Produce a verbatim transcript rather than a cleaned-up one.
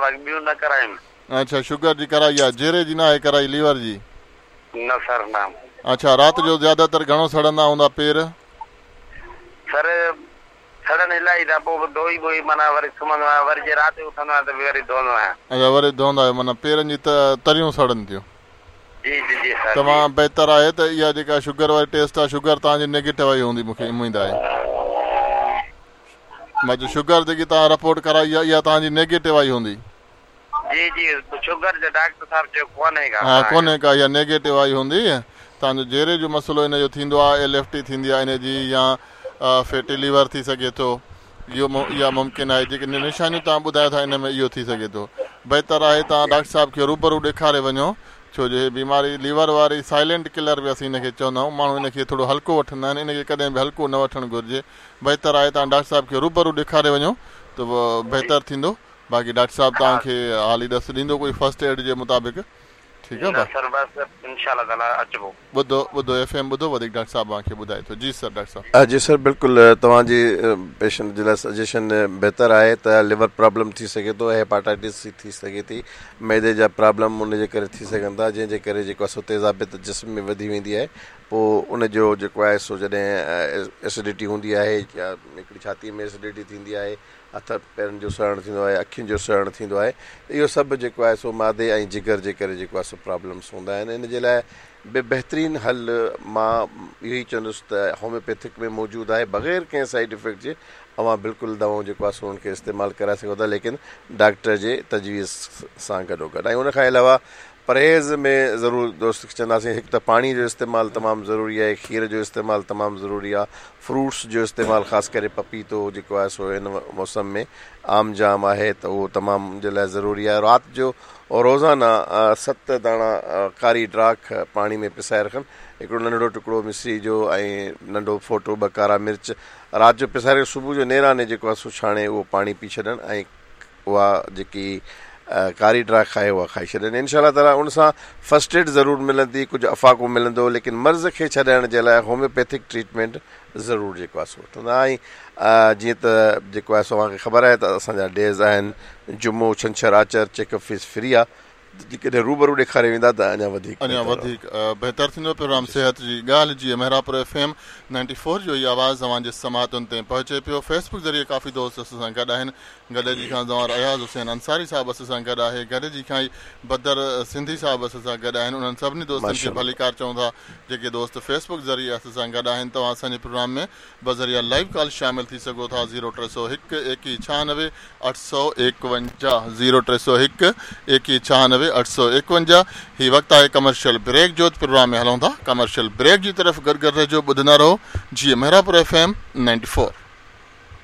باقي ٻيون نه ڪرايون. اڇا، شگر جي ڪرائي آهي، جيري جي نه آهي ڪرائي، ليور جي؟ نه سر نه. اڇا، رات جو زياده تر گهڻو سڙندا هوندا پير؟ سر سڙن الاهي ٿا، پوءِ ڌوئي ٻوئي معنيٰ وري سمهندو آهيان، وري جي رات جو اٿندو آهيان ته وري ڌوئندو آهيان. اڇا، وري ڌوئندا آهيو، معنيٰ پيرن جي تريون سڙن ٿيون. جي جي جي سر. تمام بهتر آهي ته اها جيڪا شگر واري ٽيسٽ آهي، شگر توهان جي نيگيٽو آئي هوندي، مون کي اميد آهي. مان چيو شگر جيڪي توهان رپورٽ ڪرائي آهي اها توهان جي نيگيٽو آئي هوندي. جي جي، شگر جو ڊاڪٽر صاحب چيو ڪونهي ڪا. ها، ڪونهي ڪا، اها نيگيٽو آئي هوندي. توهان جو جيري جو مسئلو ان جو ٿيندو آهي، ايل ايف ٽي ٿيندي آهي ان جي، يا فيٽي ليور ٿي سگهي ٿو، اهو اها ممڪن آهي. جيڪي نشانيون توهان ٻڌايو ٿا ان ۾ اهو ٿي سگهي ٿو. بهتر آهي توهان ڊاڪٽر صاحب کي روبرو ڏيکاري وڃو، ڇو جو هي بيماري ليور واري سائلينٽ ڪلر به اسين هن کي چوندا آهيون. ماڻهو هن کي ٿورو هلڪو وٺندا آهن، ان کي ڪڏهن به هلڪو نه وٺڻ گهرجي. بهتر آهي توهان ڊاڪٽر صاحب کي روبرو ڏيکاري وڃو ته بهتر ٿيندو. باقي ڊاڪٽر صاحب توهان کي حالي ڏس ڏيندو ڪوئي فرسٽ ايڊ جي مطابق. ٺيڪ آهي سر، بس انشاء الله تعاليٰ اچبو. ٻڌو ٻڌو ايف ايم ٻڌو، وڌيڪ ڊاڪٽر صاحب توهان کي ٻڌائي ٿو. جي سر ڊاڪٽر صاحب. جي سر بلڪل، توهان جي پيشنٽ جي لاءِ سجيشن بهتر آهي ته ليور پرابلم ٿي سگهي ٿو، هيپاٽائٽس سي ٿي سگهي ٿي، معدي جا پرابلم ان جي ڪري ٿي سگهن ٿا، جنهن جي ڪري جيڪو آهي سو تيزابيت جسم ۾ وڌي ويندي آهي. پوءِ ان جو جيڪو آهي سو جڏهن ايسڊٽي هوندي آهي يا هڪڙي ڇاتيءَ ۾ ايسڊٽي ٿيندي آهي، هٿ پيرن جو سڙڻ ٿيندو آهي، اکين جو سڙڻ ٿيندو آهي، اهو سڀ جيڪو آهي سو مادي ۽ جگر جي ڪري جيڪو آهي سو پرابلمس هوندا آهن. ان جي لاءِ به بهترين حل مان اهو ئي چوندس ته هوميوپيٿڪ ۾ موجود آهي، بغير ڪنهن سائيڊ افيڪٽ جي اوهان بلڪل دوائون جيڪو آهي سو ان کي استعمال ڪرائي سگهو ٿا، ليڪن ڊاڪٽر جي تجويز سان گڏو گڏ. ۽ ان کان علاوه پرهيز ۾ ضرور دوست کي چونداسين، هڪ ته پاڻيءَ جو استعمال تمام ضروري آهي، کير جو استعمال تمام ضروري آهي، فروٽس جو استعمال خاص ڪري پپيتو جيڪو آهي سو هن موسم ۾ عام جام آهي ته اهو تمام جي لاءِ ضروري آهي. رات جو روزانه ست داڻا ڪاري ڊراک پاڻي ۾ پسائي رکن، هڪڙو ننڍڙو ٽڪڙو مصري جو ۽ ننڍو ڦوٽو ٻه ڪارا مرچ رات جو پسائي رکي صبح جو نيراني جيڪو آهي سو ڇاڻي اهو پاڻي پي ڇڏن ۽ اها جيڪي ڪاري ڊراک آهي اها کائي ڇڏن. انشاء الله تعاليٰ ان سان فرسٽ ايڊ ضرور ملندي، ڪجهه افاقو ملندو، ليڪن مرض کي ڇڏائڻ جي لاءِ هوميوپيٿڪ ٽريٽمينٽ ضرور جيڪو آهي سو وٺندا. ۽ جيئن ته جيڪو آهي سو اوهان کي خبر آهي ته اسان جا ڊيز آهن جمعو، ڇنڇر، آچر، چيڪ اپ فيس فري آهي، جيڪڏهن روبرو ڏيکاري ويندا ته اڃا وڌيڪ اڃا وڌيڪ بهتر ٿيندو. پروگرام صحت جي ڳالهه جي Mehrabpur F M ninety four جو هي آواز اوهان جي سماعتن تي پهچي پيو. فيس بڪ ذريعي ڪافي دوست اسان سان گڏ آهن. گڏجي کان زوار اياز حسين انصاري صاحب اسان سان گڏ آهي، گڏجي کان ئي بدر سنڌي صاحب اسان سان گڏ آهن. انهن سڀني دوستن کي ڀليڪار چئون ٿا جيڪي دوست فيس بڪ ذريعي اسان سان گڏ آهن. توهان اسان جي پروگرام ۾ بذريعا لائيو ڪال شامل ٿي سگهو ٿا. زيرو ٽي سؤ هڪ ايڪويهه ڇهانوي اٺ سؤ ايڪونجاهه، زيرو ٽي سؤ هڪ ايڪويهه ڇهانوي اٺ سؤ ايڪونجاهه. هي وقت آهي ڪمرشل بريڪ جو، پروگرام ۾ هلون ٿا ڪمرشل بريڪ جي طرف. گڏ گڏ رهجو، ٻڌندا رهو جيئن Mehrabpur F M ninety four.